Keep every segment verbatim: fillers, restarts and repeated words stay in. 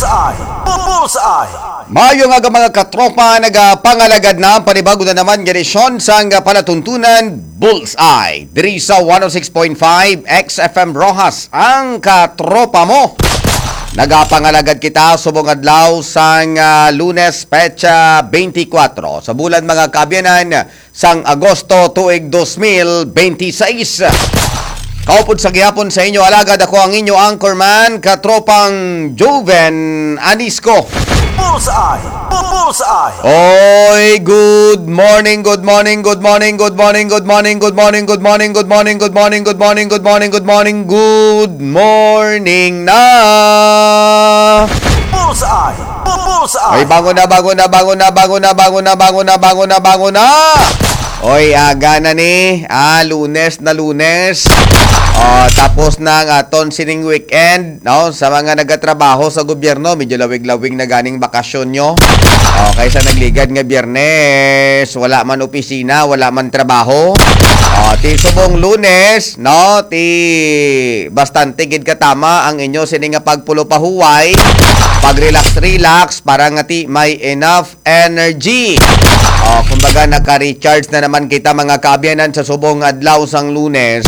Bullseye! Bullseye! Mayo nga mga katropa, nagapangalagad na ang panibago na naman nga edisyon sang palatuntunan Bullseye diri sa one oh six point five X F M Roxas, ang katropa mo. Nagapangalagad kita subong adlaw sang, ah, Lunes, petsa twenty-four sa bulan, mga kaabyanan, sang Agosto tuig dos mil benti seis. Kaupod sa gihapon sa inyo alagad, ako ang inyo anchorman, katropang Joven Anisco. Bullseye! Bullseye! Oy, good morning, good morning, good morning, good morning, good morning, good morning, good morning, good morning, good morning, good morning, good morning, good morning, good morning na. Bullseye! Bullseye! Ay, bangon na, bangon na, bangon na, bangon na, bangon na, bangon na, bangon na, bangon na. Oy, aga na ni. Ah, Lunes na, Lunes. Oh, tapos na ang aton sining weekend, no? Sa mga nagatrabaho sa gobyerno, medyo lawig-lawig na ganing bakasyon nyo. Oh, kaysa nagligad nga Biyernes, wala man opisina, wala man trabaho. Oh, ti subong Lunes, no? Ti bastante gid katama ang inyo sini nga pagpulo pahuway, pag-relax-relax para nga ti may enough energy. Oh, kumbaga, naka-recharge na naman kita, mga kaabyanan, sa subong adlaw sang Lunes,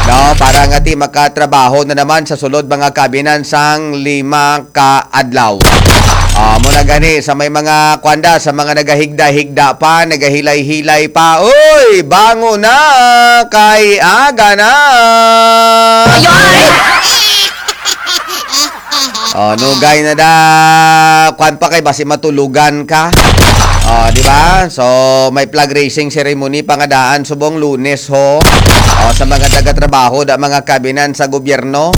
no? Para nga ti makatrabaho na naman sa sulod, mga kaabyanan, sang lima ka adlaw. Ah, mo na gani sa may mga kwanda, sa mga nagahigda-higda pa, nagahilay-hilay pa. Uy, bango na kay aga na. Oh, nugay na da. Kwan pa kay basi matulugan ka. Oh, di ba? So, may flag raising ceremony pa nga daan subong Lunes ho. Oh, sa mga taga-trabaho da, mga kabinan sa gobyerno.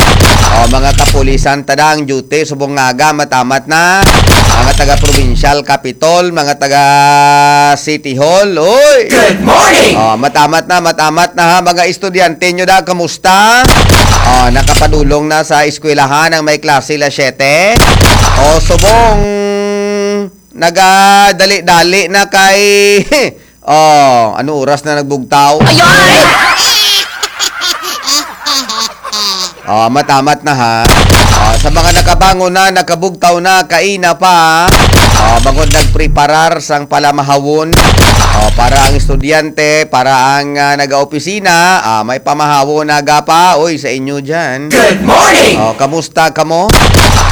Oh, mga kapulisan, tada ang duty subong nga aga, matamat na. Mga taga-provincial capitol, mga taga-city hall. Uy! Good morning! Oh, matamat na, matamat na ha, mga estudyante nyo da, kamusta? Oh, nakapadulong na sa eskwelahan ang may klase la siete. Oh, subong nagadali-dali na kay Oh, ano oras na nagbugtaw? Ayoy! Oh, matamat na ha. Oh, sa mga nakabangon na, nakabugtaw na, kaina pa. Oh, bangod nagpreparar sang palamahawon. Oh, para ang estudyante, para ang, ah, nagaopisina, ah, may pamahawon na gapa. Uy, sa inyo dyan. Good morning! Oh, kamusta kamo?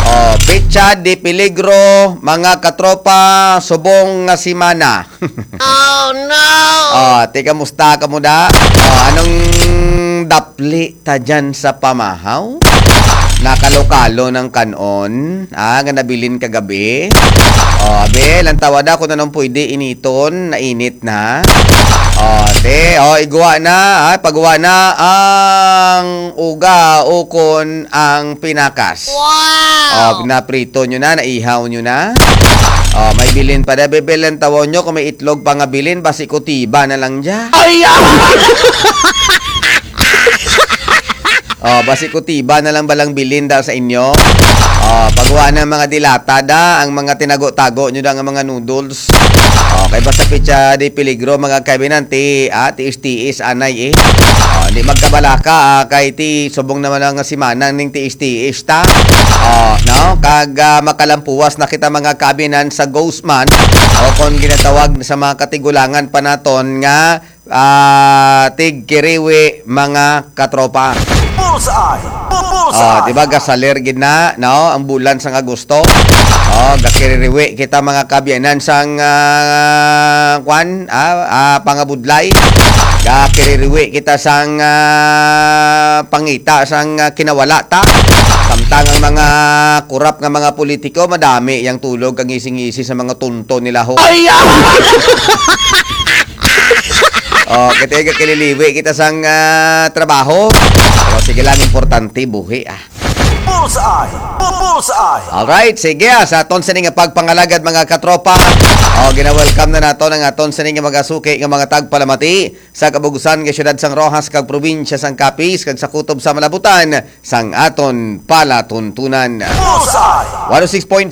Oh, petsa de peligro, mga katropa, subong nga semana. Oh, no! Oh, ti, kamusta kamo da? Oh, anong dapli ta dyan sa pamahaw? Nakalokalo ng kanon, ah, nga nabilin kagabi. Oh, abi, lantawa da kung anong pwede initon, nainit na. Oh, te, oh, igwa na, ah, pagwa na ang uga ukon ang pinakas. Wow! Oh, naprito nyo na, naihaw nyo na. Oh, may bilin pa da, bebe, lantawa nyo kung may itlog pa nga bilin, basi kutiba na lang dya. Ay, ah! Oh, basi kutiba na lang balang bilin da sa inyo. Oh, pagwa na mga dilata da, ang mga tinago-tago nyo da nga mga noodles. Oh, kay basta petsa de peligro, mga kabinan, ti, ah, tiis-tiis, anay eh. Oh, di magkabalaka, ah, kay ti subong naman nga semana ning tiis-tiis ta. Oh, no? Kag, ah, makalampuwas na kita, mga kabinan, sa ghost month, o kung ginatawag sa mga katigulangan pa naton nga ah, tigkiriwi, mga katropa. Bullseye! Bullseye! Ah, di ba, gasaler gid na, no? Ang bulan sang Agosto. Oh, gakiririwi kita, mga kaabyanan, sang, ah, kwan, ah, ah, pangabudlay. Gakiririwi kita sang, ah, pangita sang, ah, kinawala ta. Samtang ang mga kurap nga mga politiko, madami yang tulog kag ngisi-ngisi sa mga tunto nila, ho. Ay, ah! Oh, kita gakililiwi kita sang, ah, trabaho. Pero sige lang, importante buhi, ah. Bullseye! Bullseye! Alright, sige, ah, sa aton sini nga pagpangalagad, mga katropa. Oh, gina-welcome na nato ang aton sini nga mga suki nga mga tagpalamati sa kabugusan nga siyudad sang Roxas kag probinsya sang Capiz kag sa kutob sa malabutan sang aton palatuntunan. Bullseye! One oh six point five